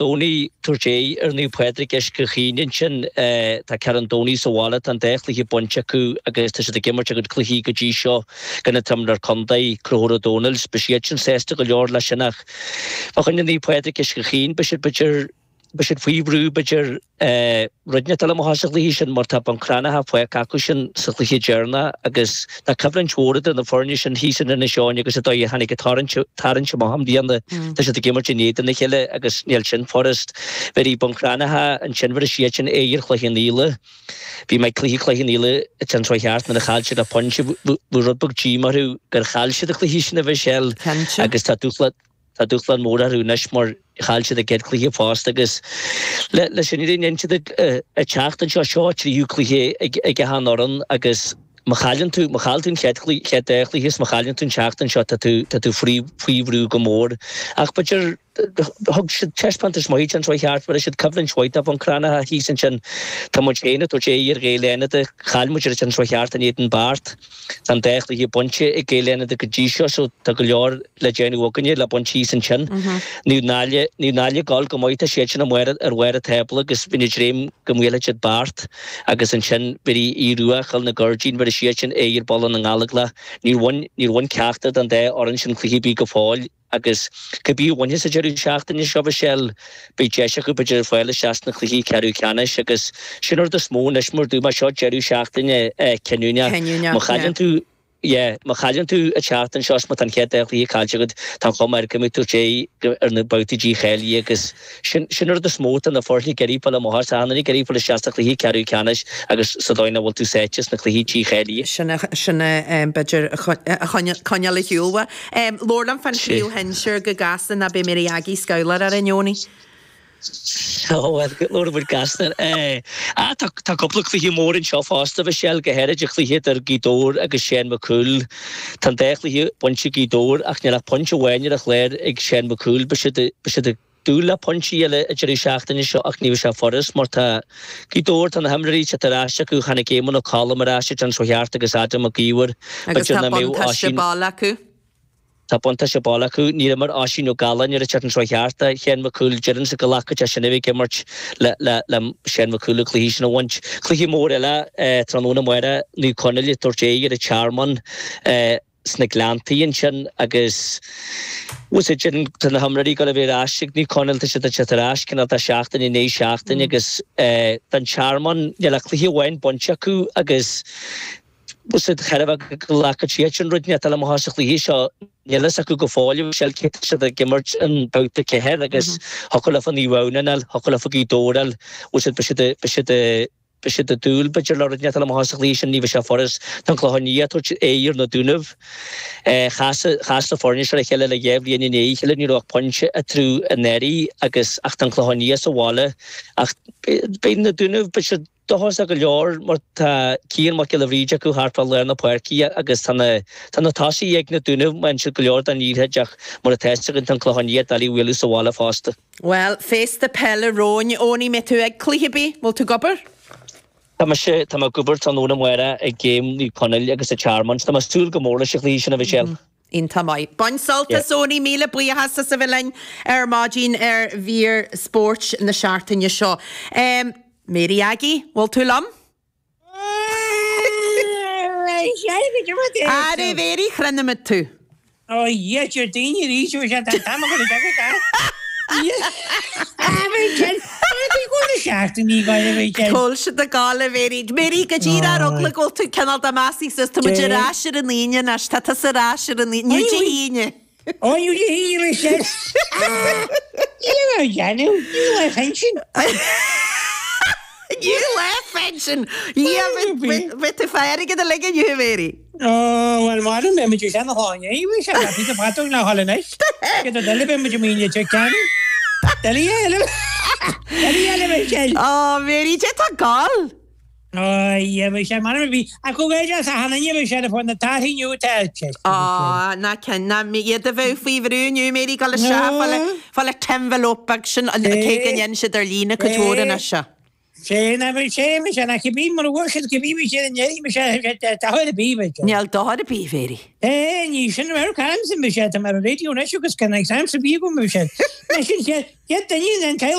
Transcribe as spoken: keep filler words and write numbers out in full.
Domhnaigh tabhairt aghaidh ar Naomh Pádraig Uisce Chaoin ansin. Tá Carn Domhnaigh sa bhaile, tá an dá chluiche bainte acu agus tá siad ag imirt a gcuid cluichí go dtí seo i gcoinne an t-imreoir contae, Conchúr Ó Domhnaill. Beidh siad sin sásta go leor leis sin ach fá choinne Naomh Pádraig Uisce Chaoin beidh siad b'fhéidir beidh siad faoi bhrú b'fhéidir rud inteacht dul amach as an chluiche sin mar tá Bun Cranncha fágtha acu sin sa chluiche deireanach agus tá coimhlint mhór idir na foirne sin thíos in Inis Eoghain agus an dóigh a tháinig an tarraingt amach i mbliana. Tá siad ag imirt in éadan a chéile agus níl sin furast. Bheir Bun Cranncha ansin bheir siad sin aghaidh ar Chloich Cheann Fhaola. Bhí mé ag cluiche Chloich Cheann Fhaola an tseachtain seo thart nuair a chaill siad le pointe. Bhí rud beag díoma orthu gur chaill siad an cluiche sin a Mhichelle agus tá dúshlán Tá dúshlán mór orthu anois mar chaill siad a gcéad chluiche fosta agus leis an fhírinne níl siad ag teacht anseo, seo a tríú cluiche ag achan fhoireann agus má chailleann tú, má chaill tú an chéad chluiche, chéad dá chluiche is má chailleann tú an tseachtain seo tá tú, tá tú faoi, faoi bhrú go mór. Ach b'fhéidir, thug siad taispeántas maith an tseachtain seo thart, bheir siad coimhlint mhaith do Bhun Cranncha thíos ansin. Tá muid féin ag tabhairt aghaidh ar Ghaeil Fhánada, chaill muid an tseachtain seo thart in éadan Beart. Tá an dá chluiche bainte ag Gaeil Fhánada go dtí seo so tá go leor le déanamh againne le baint thíos ansin. Naomh Náille, Naomh Náille ag gabháil go maith, tá siad sin amuigh ar bharr an tábla agus bhí ag dréim go mbuailfeadh siad Beart agus ansin bhí Aodh Rua, Chill na Gairdín, bheir siad sin aghaidh ar Bhaile na nGallóglach. Níor bhain, níor bhain ceachtar den dá fhoireann sin cluiche ar bith go fóill. Agus cibé a bhainfeas an deireadh seachtaine seo, Michelle, beidh deis acu b'fhéidir fáil isteach sna cluichí ceathrú ceannais agus sin an rud is mó anois mar dúirt mé seo deireadh seachtaine cinniúnach. Cinniúnach, Má chailleann yeah. tú, yeah, má chailleann tú an tseachtain seo is má tá an chéad dá chluiche caillte agat, tá an chuma air go mbeidh tú ag ar na babhtaí dícháilithe agus sin, sin an rud is mó atá na foirne ag iarraidh fáil amach as, achan duine ag iarraidh fáil isteach sa chluiche ceathrú ceannais agus sa dóigh nach bhfuil tú sáite sna cluichí dícháilithe. Sin a, sin a, b'fhéidir a choinneáil ar shiúl uait. Labhair liom fán chraobh shinsir go gasta ná beidh Mary Aggie scamhlar orainn, Eoiní. Ó bhuel, labhair muid gasta. Ah, tá tá cúpla cluiche mór anseo fosta, Michelle, go háirid an cluiche idir Gaoth Dobhair agus Shane McCool. Tá an dá chluiche bainte ag Gaoth Dobhair ach níl ach pointe amháin ar an chlár ag Shane McCool. Beidh siad beidh siad ag dúil le pointí eile an deireadh seachtaine seo ach ní bheidh sé furast mar tá Gaoth Dobhair, tá na himreoirí teacht ar ais acu, tháinig Éamonn Ó Colm ar ais an tseachtain seo thart agus Adam Mac Íomhair, Agus b'fhéidir tá nach mbeadh buntáiste Oisín, baile acu. tá buntáiste baile acu, níor imir Oisín Ó Galláin ar an tseachtain seo thart do Shane McCool, déarfainnse go nglacfadh sé sin a bheith ag imirt le le le Shane McCool an cluiche sin a bhaint. Cluiche mór eile tráthnóna amárach, Naomh Conaill ag tabhairt aghaidh ar an Tearmann. sna Gleanntaí ansin agus bhfuil a fhios agat tá na himreoirí ag dul a bheith ar ais ag Naomh Conaill, tá siad ag teacht ar ais cineál de sheachtain i ndiaidh seachtaine agus don Tearmann níl ach cluiche amháin bainte acu agus bhfuil a fhios agat chairbhe go nglacfadh siad sin rud inteacht eile amach as an chluiche seo níl a fhios acu go fóill a Mhichelle cé tá siad ag imirt an babhta ceathair agus thiocfadh leofa Naomh Adhamhnáin a fháil, thiocfadh leofa Gaoth Dobhair a fháil, bhfuil a fhios agat beidh siad beidh siad Beidh siad ag dúil, b'fhéidir, le rud inteacht eile amach as an chluiche sin, ní bheidh sé furast. Tá an Clochán Liath ag tabhairt aghaidh ar na Dúnaibh. Chas chas na foirne seo le chéile le dhá bhliain i ndiaidh a chéile, ní raibh ach pointe eatarthu anuraidh agus ach tá an Clochán Liath sa bhaile ach beidh na Dúnaibh, beidh siad dóchasach go leor mar tá Cian Mac Giolla Bhríde acu thart fá lár na páirce agus tá na tá na tosaithe ag na Dúnaibh, má fhaigheann siad go leor den liathróid ach mar atá a fhios againn tá an Clochán Liath doiligh a bhualadh sa bhaile fosta. Bhuel, féasta peile romhainn, Eoiní, mbeidh tú ag cluiche ar bith? Bhfuil tú ag obair? Tá mise, tá mé ag obair tráthnóna amárach ag game Naomh Conaill agus an Tearmann. Tá mé ag súil go mór leis an chluiche sin, a Mhichelle. Iontach maith. Bain sult Yeah. as Eoiní, míle buíochas as a bheith linn ar maidin ar mhír spóirt na seachtaine seo. Mary Aggie, bhfuil tú liom? Ara Mary, chronaimid tú. Ó Dhia, deir daoine arís ó sé tá an t-am agat ag Cá bhfuil siad ag gabháil a Mary. Mary, go díreach ar eagla go bhfuil tú cineál de measctha suas, tá muid ar ais ar an Aoine anois, tá tusa ar ais ar an Aoine, Inniu Dé hAoine. Ó Inniu Dé hAoine leis sin. Níl a dhéanamh, níl lá pinsin. Níl lá pinsin! Dhia, bheadh tú fá airgead uilig inniu, a Mary. Ó, bhuel, mairim, beidh muid ag sean a shláine, bhí sé le píosa patrún le dhul anois. Cé do eile beidh muid i míle te ceann. Eile eile. Eile eile, Michelle. Ó, Mary, cé tá ag gabháil? Ó, yeah, bhí sé, mairim, bhí, ach go bhféidir as a hanna, bhí sé le fáil na torthaí inniu atá te. Ó, ná ceann, ná iad a bheith faoi bhrú inniu, Mary, gabháil isteach, fáil fáil an t-envelope beag sin, cé go ndéanann siad ar líne cuid mhór anois. Sé na bhí sé me sé na cibí mar bhfuair siad cibí bhí siad in éirí me sé dochar ar bith me sé. Níl dochar ar bith Mhéirí. É ní sin mar caim sin me sé tá mar radio anois agus can exam sa bhí go me sé. Me sin sé duine an